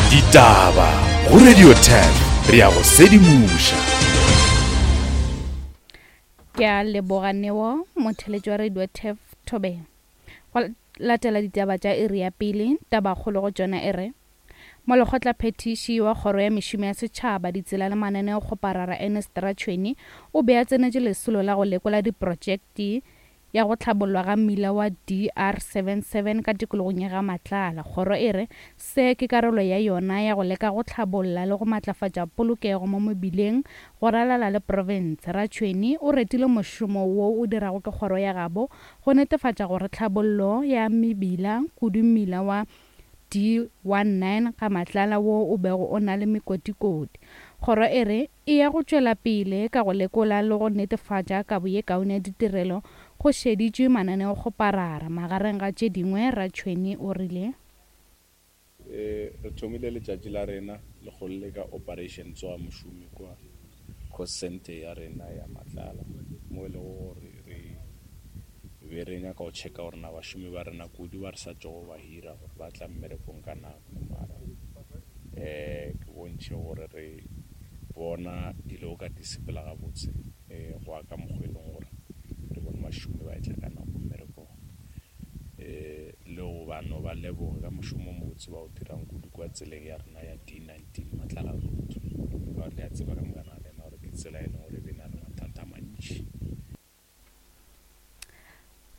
Ditaba go Radio 10 re ya go sedimoša. Ke a leboga Neo, motheletši wa Radio Tef Thobela. Go latela ditaba tša iri ya pele, tabakgolo go tšona e re, Molekgotlaphethiši wa Kgoro ya Mešomo ya Setšhaba, Ditsela le Mananeokgoparara Ernest Ratšhweni o be a tsenetše lesolo la go lekola diprotšekte ya go hlabollwa ga mmila wa DR 77 ka tikologong ya ga Matlala. Kgoro e re se ke karolo ya yona ya go leka go hlabolla le go matlafatša polokego mo mebileng go ralala le profense. Ratšhweni o retile mošomo wo o dirago ke kgoro ya gabo go netefatša gore tlhabollo ya mebila, kudu mmila wa D19 ga Matlala wo o bego o na le mekotikoti. Kgoro e re e ya go tšwela pele ka go lekola le go netefatša kabo ye kaone ya ditirelo go šeditšwe mananeokgoparara, magareng ga tše dingwe, Ratšhweni o rile. Re thomile letšatši la rena le go leka Operation Tsoa Mošomi kua Cost Centre ya rena ya Matlala mo e lego gore re be re nyaka go checka gore na bašomi ba rena kudu ba re sa tšogo ba hira gore ba tla mmerekong ka nako mara um ke bontšhe gore re bona dilo ka di sepela gabotse um go ya ka mokgwa e leng gore re bone bašomi ba etla ka nako mmerekong um le go ba no ba leboge ka mošomo o mobotse ba o dirang kudu kwa tseleng ya rena ya D19 Matlala Road ka gore le a tseba ka mokana ga lena gore ke tsela e leng gore e be na le mathata a mantši.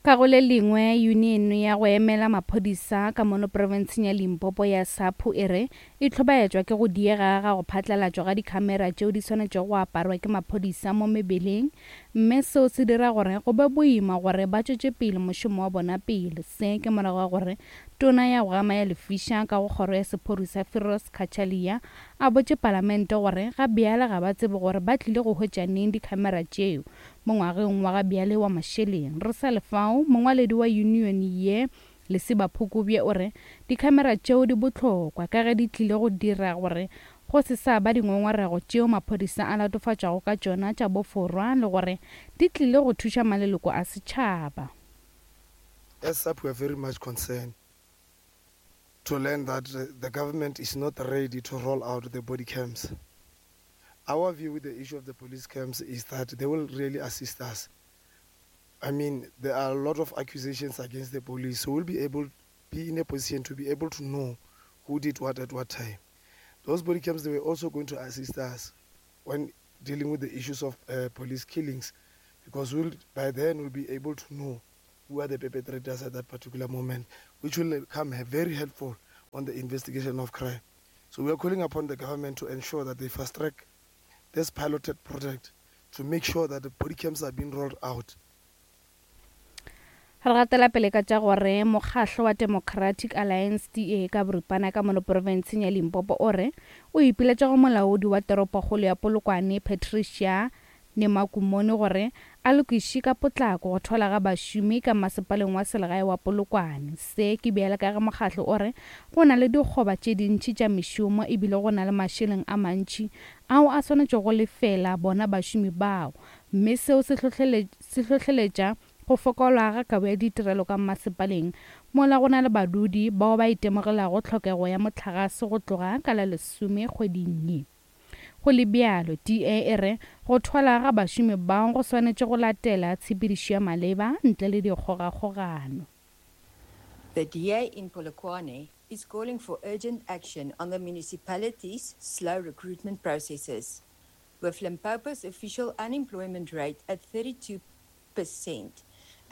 Ka go le lengwe, yuniene ya go emela maphodisa ka mono profenseng ya Limpopo ya SAPU e re e hlobaetšwa ke go diega ga go phatlalatšwa ga dikhamera tšeo di swanetšego go aparwa ke maphodisa mo mebeleng mme seo se dira gore go be boima gore ba tšwetše pele mošomo wa bona pele. Se ke morago ga gore Tona ya go gama ya lefiša ka go kgoro ya sephodisa Firoz Cachalia a botše palamente gore ga bjale ga ba tsebe gore ba tlile go hwetša neng dikhamera tšeo Mo ngwageng wa ga bjale wa mašeleng, re sa le fao, mongwaledi wa yunione ye, Lesiba Phukubye o re dikhamera tšeo di bohlokwa ka ge di tlile go dira gore go se sa ba dingongorego tšeo maphodisa a latofatšwago ka tšona tša boforwa le gore di tlile go thuša maleloko a setšhaba. As SAPP we are very much concerned to learn that the government is not ready to roll out the body cams. Our view with the issue of the police camps is that they will really assist us. I mean, there are a lot of accusations against the police, so we'll be able be in a position to be able to know who did what at what time. Those body cams, they were also going to assist us when dealing with the issues of uh, police killings, because we'll, by then we'll be able to know who are the perpetrators at that particular moment, which will come very helpful on the investigation of crime. So we are calling upon the government to ensure that they fast track this piloted project to make sure that the body cams are being rolled out. Re gatela pele ka tša gore mokgahlo wa Democratic Alliance DA ka boripana ka mono profenseng ya Limpopo o re o ipiletša go molaodi wa toropokgolo ya Polokwane Patricia Nemakumoni gore a lokiše ka potlako go thwala ga bašomi ka masepaleng wa selegae wa Polokwane. Se ke bjale ka ge mokgatlo o re go na le dikgoba tše dintši tša mešomo ebile go na le mašeleng a mantši ao a swanetšego go lefela bona bašomi bao mme seo se hlohleletša go fokola ga kabo ya ditirelo ka masepaleng mola go na le badudi bao ba itemogelago tlhokego ya mohlagase go tloga ka la lesome kgweding ye. Go le bjalo, DA e re go thwala ga bašomi bao go swanetše go latela tshepedišo ya maleba ntle le dikgogakgogano. The DA in Polokwane is calling for urgent action on the municipality's slow recruitment processes, with Limpopo's official unemployment rate at 32 percent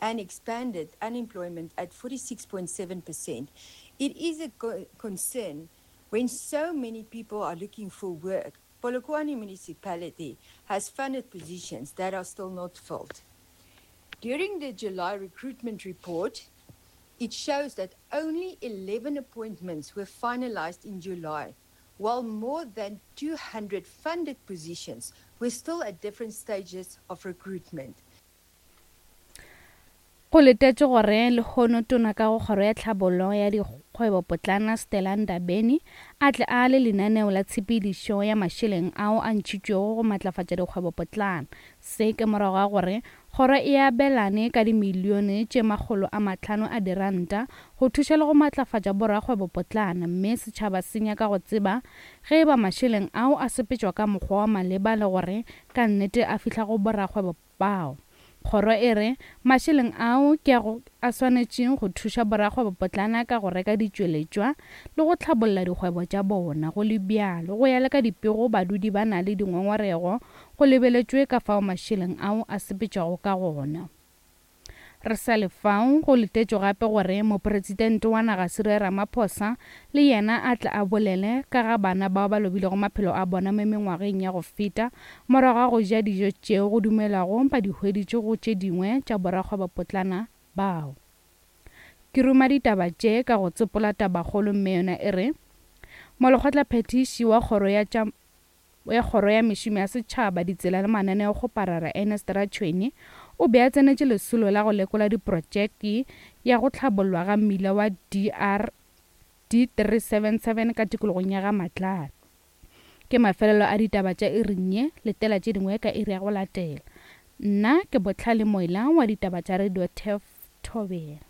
and expanded unemployment at 46.7 percent. It is a concern when so many people are looking for work. Polokwane municipality has funded positions that are still not filled. During the July recruitment report, it shows that only 11 appointments were finalized in July, while more than 200 funded positions were still at different stages of recruitment. Go letetšwe gore lehono Tona ka go Kgoro ya Tlhabollo ya Kgwebopotlana Stella Ndabeni a tle a le lenaneo la tshepedišo ya mašeleng ao a ntšhitšwego go matlafatša dikgwebopotlana. Se ke morago ga gore kgoro e abelane ka dimilione tše 500 a diranta go thuša le go matlafatša borakgwebopotlana mme setšhaba se nyaka go tseba ge e ba mašeleng ao a sepetšwa ka mokgwa wa maleba le gore ka nnete a fihla go borakgwebo bao. Kgoro e re mašeleng ao ke a go a swanetšeng go thuša borakgwebopotlana ka go reka ditšweletšwa le go hlabolla dikgwebo tša bona. Go le bjalo, go ya le ka dipego badudi ba na le dingongorego go lebeletšwe ka fao mašeleng ao a sepetšwago ka gona. Re sa le fao, go letetšwe gape gore Mopresidente wa naga Cyril Ramaphosa le yena a tle a bolele ka ga bana bao ba lobilego maphelo a bona mo mengwageng ya go feta morago ga go ja dijo tšeo go dumelwago ba di hweditše go tše dingwe tša borakgwebopotlana bao. Ke ruma ditaba tše ka go tsopola tabakgolo mme yona e re, Molekgotlaphethiši wa kgoro ya tša ya Kgoro ya Mešomo ya Setšhaba, Ditsela le Mananeokgoparara Ernest Ratšhweni o be a tsenetše lesolo la go lekola diprotšeke ya go hlabollwa ga mmila wa DR D377 ka tikologong ya ga Matlala. Ke mafelelo a ditaba tša iring ye, letela tše dingwe ka iri ya go latela. Nna ke Bohlale Moila wa ditaba tša Radio Turf Thobela.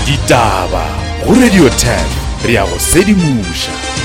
Ditaba go Radio Turf, re a go sedimoša.